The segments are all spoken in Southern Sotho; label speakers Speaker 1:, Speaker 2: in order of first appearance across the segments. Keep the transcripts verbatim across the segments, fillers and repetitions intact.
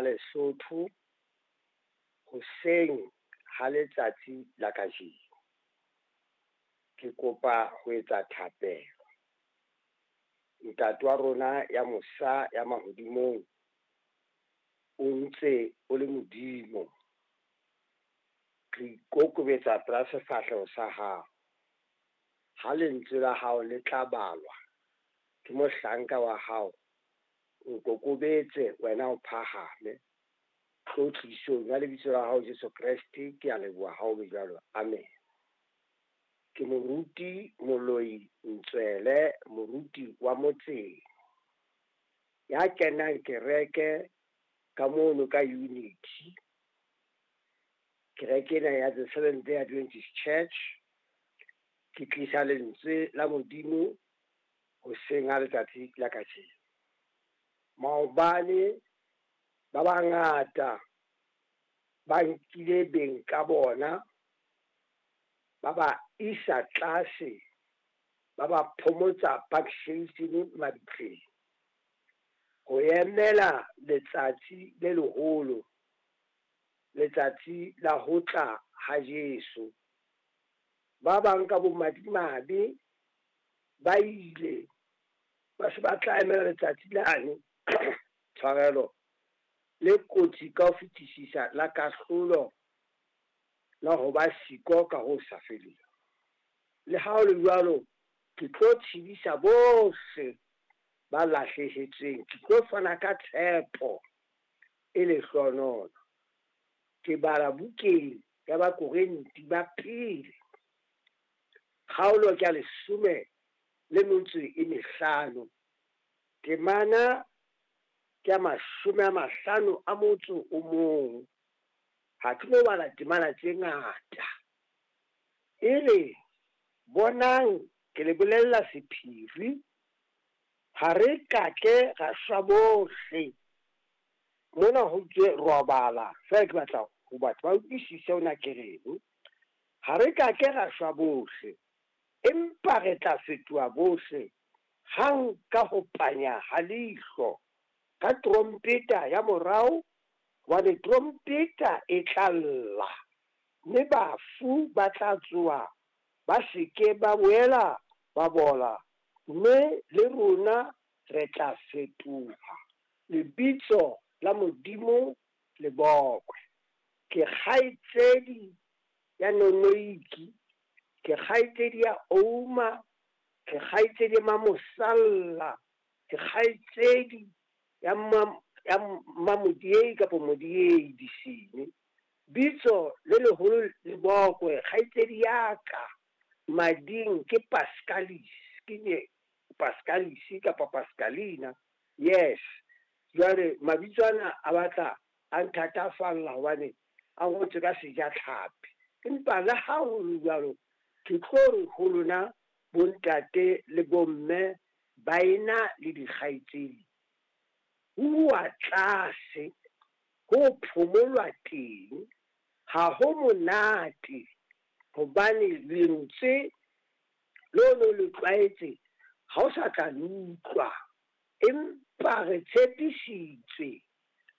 Speaker 1: la Lesotho hoseng ha letsatsi la kajeno. Ke kopa ho etsa thapelo. Ntate wa rona ya mosa ya mahodimong, o ntse o le Modimo. Re ikokobetsa pela sefahleho sa hao. Ha lentswe la hao le tla balwa ke mohlanka wa hao, nkokobetse wena o phahame. Tlotlisong ya lebitso la hao Jesu Kreste, ke a leboha ha o be jwalo. Amen. Ke moruti Moloi Ntswele, moruti wa motseng, ya kenang kereke ka mono ka Unity. Kereke ena ya The Seventh Day Adventist Church. Ke tlisa lentswe la Modimo hoseng ha letsatsi la kajeno. Maobane ba bangata ba nkile beng ka bona, ba ba isa tlase, ba ba phomotsa Park Station mabitleng ho emela letsatsi le leholo, letsatsi la ho tla ha Jesu. Ba bang ka bomadimabe ba ile ba se ba tla emela letsatsi lane, tshwarelo, le kotsi ka ho fetisisa la kahlolo, la ho ba siko ka ho sa feleng. Le ha ho le jwalo, ke tlo tshedisa bohle ba lahlehetsweng, ke tlo fana ka tshepo e lehlohonolo. Ke bala bukeng ya Bakorinthe ba pele, kgaolo ke ya leshome le metso e mehlano, temana ke ya mashome a mahlano a motso o mong. Ha ke no bala temana tse ngata. E re, bonang ke le bolella sephiri, ha re ka ke ra shwa bohle. Mona ho tswe robala, feela ke batla ho batho ba utlwisise hona ke reng. Ha re ka ke ra shwa bohle, empa re tla fetoha bohle hang ka ho panya ha leihlo, ka trompeta ya morao, hobane trompeta e tla lla, mme bafu ba tla tsoha, ba se ke ba boela ba bola, mme le rona re tla fetoha. Lebitso la Modimo le bokwe. Ke kgaitsedi ya Nonoiki, ke kgaitsedi ya Ouma, ke kgaitsedi ya Mamosalla, ke kgaitsedi ya ya Mamodiei kapa Modiei Disine. Bitso le leholo le bokwe. Kgaitsedi ya ka mading ke Pascalis, ke Pascalis kapa Pascalina. Yes. Jwale mabitso ana a batla a nthatafalla hobane a ngotswe ka sejatlhapi. Empa le ha ho le jwalo, ke tlo re ho lona bontate le bomme, baena le dikgaitsedi, ho uwa tlase, ho phomolwa teng, ha ho monate, hobane lentswe leo le le tlwaetse ha o sa tla le utlwa. Empa re tshepisitswe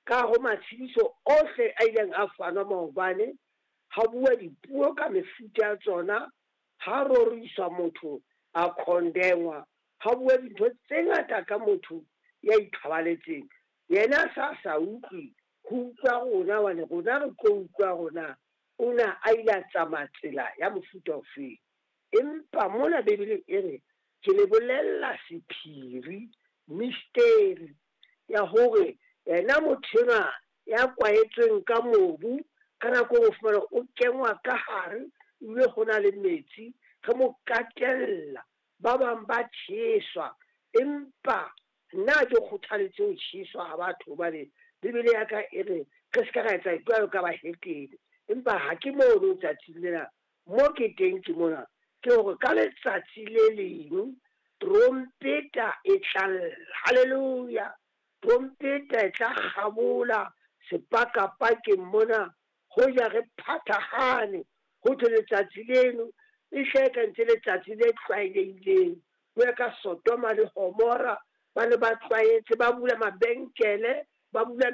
Speaker 1: ka ho matshediso ohle a ileng a fanwa maobane, ha bua dipuo ka mefuta ya tsona, ha roriswa motho a khondengwa, ha bua dintho tse ngata ka motho ya ithobaletseng. Yena sa sa utlwe, ho utlwa rona, hobane rona re tlo utlwa rona o na a ile a tsamaya tsela ya mofuta ofeng. Empa mona Bibele e re, ke le bolella sephiri, mystery ya hore yena motho enwa ya kwahetsweng ka mobu, ka nako e fumana o kengwa ka hare, ebile ho na le metsi, re mo katella, ba bang ba tjheswa. Empa nna ke kgothaletse ho tjheswa ha batho, hobane Bibele ya ka e re re se ka ra etsa jwalo ka bahetene. Empa ha ke mono tsatsing lena, mo ke teng ke mona, ke hore ka letsatsi le leng trompeta e tla lla. Hallelujah! Trompeta e tla kgabola sepakapakeng mona, hoja re phathahane, ho thwe letsatsi leno e hle ka ntse letsatsi le tlwaelehileng. Ho ya ka Sodoma le Gomora, ba ne ba tlwaetse, ba bula mabenkele, ba bula